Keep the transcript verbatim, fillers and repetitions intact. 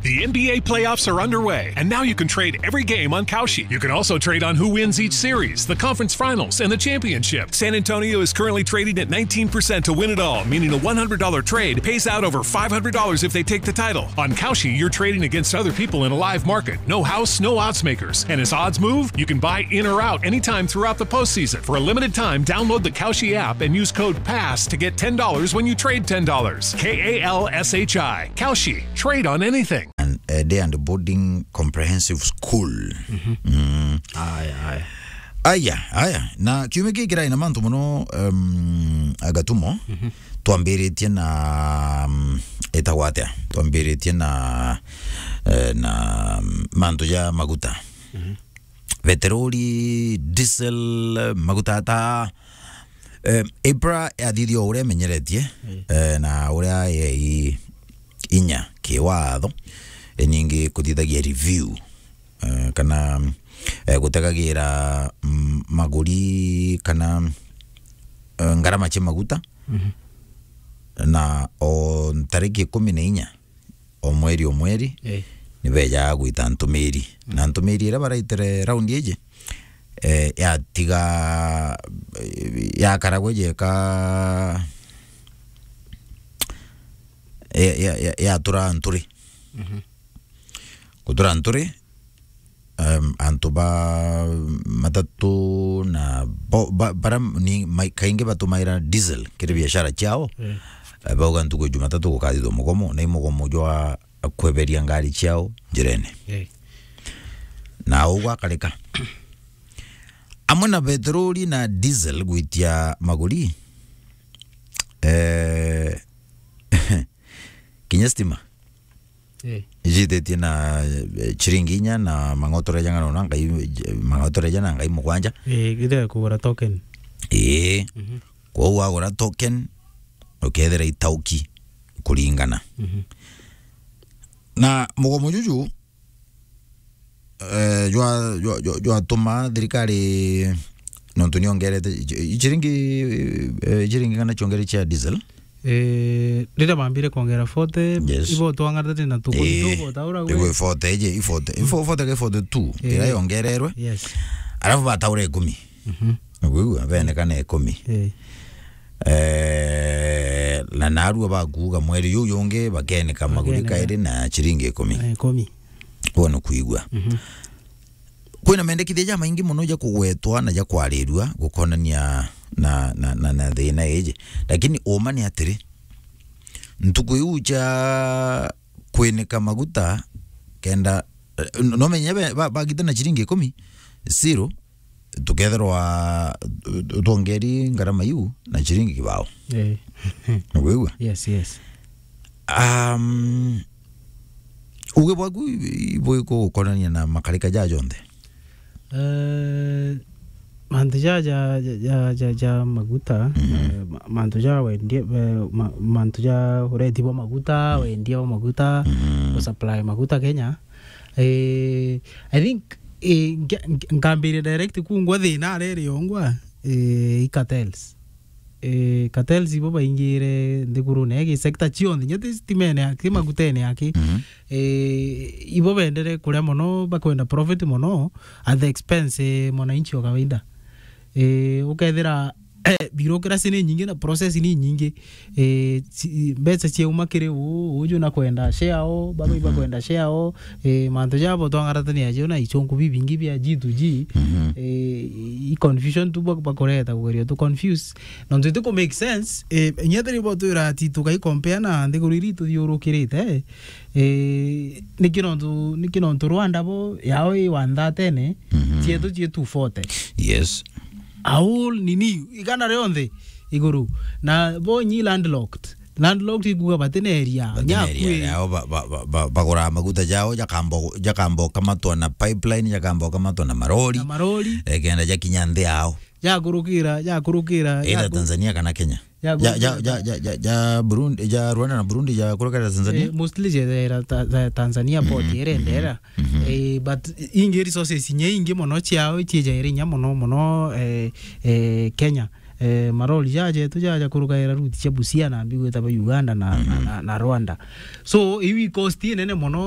The N B A playoffs are underway, and now you can trade every game on Kalshi. You can also trade on who wins each series, the conference finals, and the championship. San Antonio is currently trading at nineteen percent to win it all, meaning a one hundred dollar trade pays out over five hundred dollars if they take the title. On Kalshi, you're trading against other people in a live market. No house, no odds makers. And as odds move, you can buy in or out anytime throughout the postseason. For a limited time, download the Kalshi app and use code pass to get ten dollars when you trade ten dollars. K A L S H I. Kalshi. Trade on anything. And, uh, day and boarding comprehensive school. Mm. Aya, aya. Aya, aya. Na kiumia giki kirai na mantu mono, um, Agatumo. Twambiritie na, um, itagwa atia? Twambiritie na, eh, na, um, mantu ja maguta. Peteroli, diesel, maguta ata, eh, April yathithia o uria imenyeretie, eh, na uria yei inya kiwatho, iningi kuthithagia review, eh, kana, eh, gutegagira, mm, maguri kana, eh, ngarama cia maguta. Na o ntariki ikumi na inya o mweri o mweri, eh, ni bejaga gwita ntumiri. Na ntumiri iria baraitire raundi iji, eh, yatiga, eh, yakaragwa ijeka, ya, ya, ya, yatura nturi. Gutura nturi, em, antu ba matatu na bo-, ba-, bara ni mai-, kaingi batumaira diesel kiri biashara ciao. Eh, bauga ntuku ya Jumatatu gukathithwa mugomo, na i mugomo jwa kweberia ngari ciao njirene. Eh. Na uu gwakarika. Amwe na peteroli na diesel gwitia maguri, eh, kinya stima. Eh. Ijitetie na, eh, chiringi inya na mang'otore jang'ana na ngai, mang'otore jana ngai mugwanja. Eh, githira kugura token. Ii. Mhm. Kwou wagura token, ukethira itauki kuringana. Mhm. Na mugomo juju, eh, jwa, jwa, jwa, jwatuma thirikari, nontu niongerete, i-, i-, chiringi, eh, chiringi kana chiongerete chia diesel. Eh, riria bambire kuongera forty, yes, ibo twang'atate na tuku, eh, tuku taura gwe. Igwe forty iji, i forty, i fo-, forty ke forty-two, eh, iria yongererwe. Yes. Alafu bataura ikumi. Mhm. Niguigua, benekana ikumi. Eh. Eh, na narua bakuuga mweri juu jungi bakeneka maguri, bakeneka, kairi na chiringi ikumi. Eh, ikumi. Kwona kuigua. Mhm. Kwina mendekithia jamaingi mono ja kugwetwa na ja kwarirua gukonania na, na, na, na thina iji. Lakini uma ni atiri, ntuku iu ja kwinika maguta kenda, eh, no menye be-, ba-, bagita na chiringi ikumi, zero, tukethirwa, eh, twongeri ngarama iu na chiringi kibao. Eh. Niguigua? Yes, yes. Um, uge bwaku i-, i-, bwiku gukonania na makarika ja jonthe? Eh, mantu ja, ja, ja, ja, ja, ja maguta, mhm, eh, ma-, mantu ja wendia, eh, ma-, mantu ja ureti bwa maguta, mhm, wendia bwa maguta, mhm, kusupply maguta Kenya. Eh, I think, eh, nge-, nge-, nkambiria direct kungwa thina arere yongwa, eh, i cartels. Eh, cartels ibo baingire nthigurune ya gi sector cionthe, inya ti stimene aki, magutene aki. Mhm. Eh, ibo bendere kuria mono, bakwenda profit mono at the expense, eh, mwananchi wa kawaida. Eh, ukethira, eh, bureaucracy ni nyingi na process ni nyingi. Eh, ci-, mbeca ciauma kiri uu, uju na kwenda share o, baba iba, mhm, kwenda share o, eh, mantu jabo twangaratania jo na ichunku bibingi bia G to G, mhm, eh, i confusion tu bak-, bakureta kugeria tu confuse. Nontu iti ku make sense, eh, inya tiri bo twira ati tukai compare na nthiguru iri tuthiurukirite, eh, niki nontu, niki nontu Rwanda bo yao i one thirty-ne, mhm, cietu cie two forty. Yes. Au nini, igana rionthe iguru. Na bo nyi landlocked. Landlocked ikuga batina area. Batina area. Nyakui. Yao ba-, ba-, ba-, ba-, bagura maguta jao, jakambo-, jakamboka matwa na pipeline, jakamboka matwa na marori. Na marori. Eh, kenda jakinya nthi yao. Jakurukira, jakurukira, either jaku-, Tanzania kana Kenya. Jakurukira. Ja, ja, ja, ja, ja, ja Burundi, ja Rwanda na Burundi jakurukira Tanzania. Eh, mostly jethera ta-, ta-, Tanzania port, mhm, irendera. Mhm. Eh, but ingi resources inya ingi mono ciao ciijaire inya mono, mono, eh, eh, Kenya. Eh, marori jajetu jaja kurugaira route cia Busia na mbigwita ba Uganda na, na, mhm, na, na Rwanda. So, iu i cost inene mono